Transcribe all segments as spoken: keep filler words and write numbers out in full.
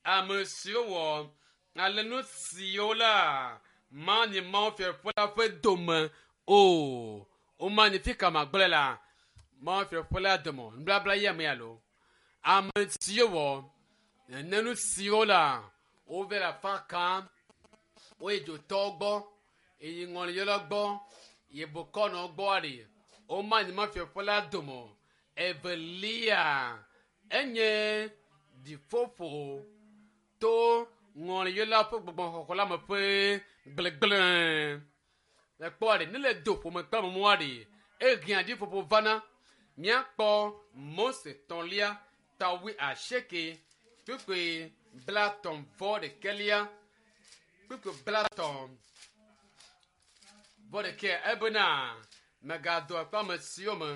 Ame siwo wɔ ale nu siwo la manyi Mawu fiaɖuƒe la ƒe dome o. Womanyi fi ka magblẽ la Mawu fiaɖuƒe la dome o. Nubabla ye ame alo. Ame siwo wɔ nene nu siwo la wove le afa kam woyi dzotɔwo gbɔ eyi ŋɔliyɔlawo gbɔ yi bokɔnɔwo gbɔ aɖi womanyi Mawu fiaɖuƒe la dome o. Evelia enye dziƒoƒo to ŋɔliyɔla ƒe gbɔgbɔxɔxɔ la me ƒe gblegblẽ. Le kpɔ aɖe ne le do ƒome kple amewo aɖe ehiã dziƒoƒo vana míakpɔ Mose tɔ̃lia ta wui asieke kpukpui blatɔ̃ vɔ ɖekɛlia kpukpui blatɔ̃ vɔ ɖekɛ ebena mègado akple ame siwo me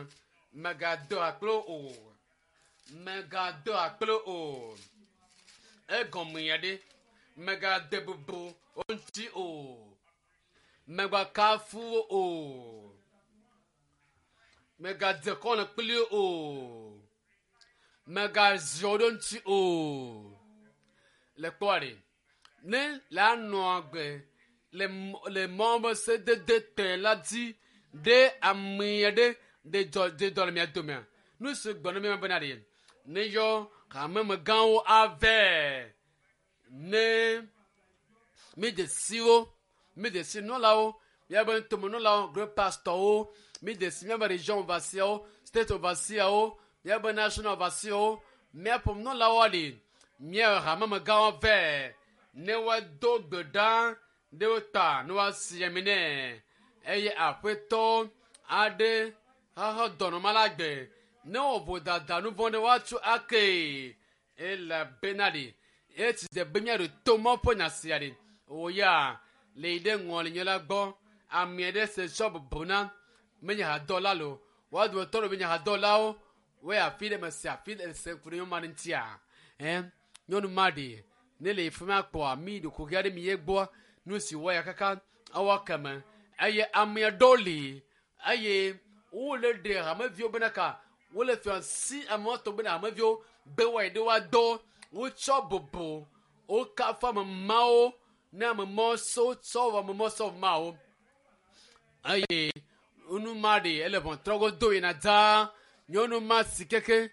mègado akple o mègado akple o egɔme ya ɖe mègade bubu wo ŋuti o mègakafu wo o mègadze kɔne kpli wo o mègaziɔ wo ɖe ŋuti o le kpɔ ɖe ne le anɔ agbe le le mɔ be sedede te la dzi ɖe ame aɖe ɖe dzɔ ɖe dɔ le mia domea nu si gbɔ ne mi bena ɖe ne yɔ hamemegãwo ave ne mi de siwo mi de si nɔlawo miabe ŋutomenɔlawo great pastorwo mi de si miabe region overseerwo state overseerwo miabe national overseerwo miaƒe nɔlawo ɖi miaƒe hamemegãwo vɛ ne woado gbe ɖa ɖe wo ta ne woasi ami nɛ eye aƒetɔ aɖe xaxɔ dɔnɔma la gbe ne wɔ vodada nu vɔ̃ ɖe woatso ake elabena ɖi esi dze be míaɖo to Mawu ƒe nya sia ɖi wò ya le yi ɖe ŋɔlinyɔla gbɔ ame aɖe se tsɔ bubu na menye hadɔla lo woa dometɔ ɖewo menye hadɔlawo woyi afi ɖe mese afi ɖe se ku ɖe nyɔnu ma ɖe ŋutia ɛ nyɔnu ma ɖi ne le fi ma kpɔa mi ɖokuiwo aɖe mi ye gbɔ nu si wɔ ya kaka ewɔ keme eye ame aɖewo li eye wole ɖe hameviwo bena ka wole fia si amewo tɔ bena hameviwo be woayi ɖe woadɔ wotsɔ bubu wokafu ame mawo ne ame mawo so tsɔ wɔ ame mawo sɔ mawo eye nu ma ɖe ele ʋɔtrɔgo do yina dzaa nyɔnu ma si keke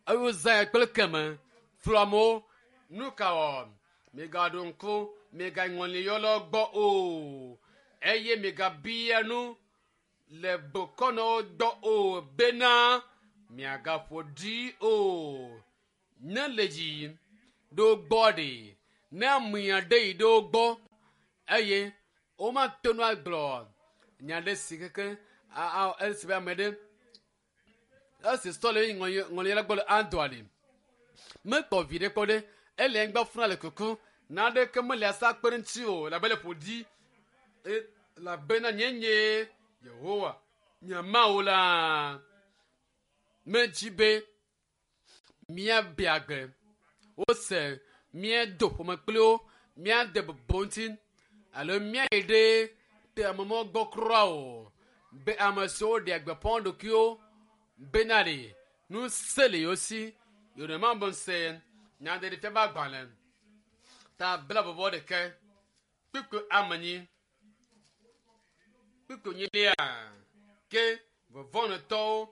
eye wozã ya kple keme flu amewo nu ka wɔ migaɖo ŋku migaŋɔliyɔlawo gbɔ o eye migabia nu le bokɔnɔwo gbɔ o bena miagaƒo ɖi o ne le dzi ɖo gbɔ ɖe ne ame aɖe yi ɖe wo gbɔ eye womato nu agblɔ nya ɖe si keke a a esi be ame ɖe esi sɔ le ŋɔliyɔla gbɔ le Andor ɖi mekpɔ vi ɖe kpɔ ɖe ele anyigba funa le kuku naɖeke mele asa kpe ɖe ŋuti o labe le ƒo ɖi elabena nye nye Yehowa nye Mawu la medzi be míabe agbe wose míado ƒome kpli wo míade bubu ŋuti alo míayi ɖe te amemɔ gbɔ kura o be ame siwo ɖea gbeƒã wo ɖokuiwo bena ɖe nu se le yewo si yorùbá bɔ se nyaɖeɖefia ƒe agbalẽ ta blaeve vɔ ɖeke kpukpui amenyi kpukpui nyilia ke vɔvɔ̃nɔtɔwo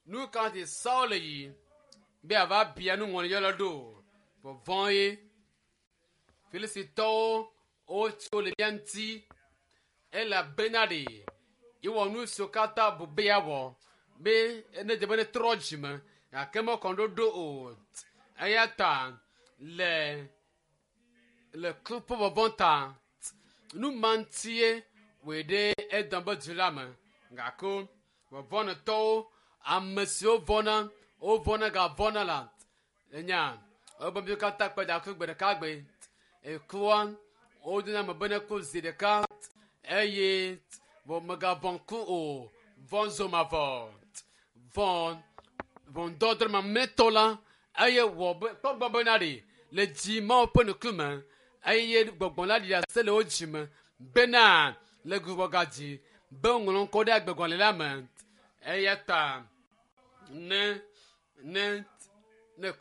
nu ka ti Saul yi be ava bia nu ŋɔliyɔla ɖo vɔvɔ̃ ye Filistitɔwo wotso le mía ŋuti elabena ɖe yewɔ nu siwo katã bu be yeawɔ be ne dze be ne trɔ dzime gake mekɔ ɖoɖo o eya ta le le ku ƒe vɔvɔ̃ ta nu ma ŋutie wòe ɖe edɔn be du la me gake vɔvɔ̃nɔtɔwo ame siwo vɔ̃na wovɔ̃na gavɔ̃na la enya wobe mi katã kpe da ku gbe ɖeka gbe ekua wodona me be ne ku zi ɖeka eye vɔ megavɔ̃ ku o vɔ̃ zomavɔ vɔ̃ vɔ̃dɔdrɔ̃ mamlɛtɔ la eye wɔ be kpɔ gbɔ bena ɖe le dzi Mawu ƒe ŋkume eye gbɔgbɔ la ɖi ase le wo dzime bena le gbugbɔga dzi be woŋlɔ ŋkɔ ɖe agbegbalẽ la me eya ta ne ne ne ku